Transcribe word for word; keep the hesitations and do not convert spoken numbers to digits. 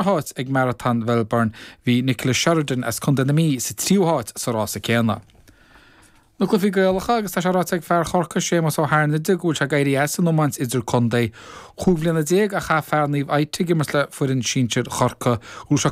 háit ag Marathon Melbourne bhí Nicola Sheridan as Contae na Mí sa tríú háit sa rása céanna. Na cluichí Gaelacha agus tá sé ráite ag fear Chorcaí Séamus Ó hAirnide go bhfuil sé ag éirí as an iomáint idirchontae. Cúig bliana déag a chaith fear Naomh Ita ag imirt le foireann sinsir Chorcaí go bhfuil sé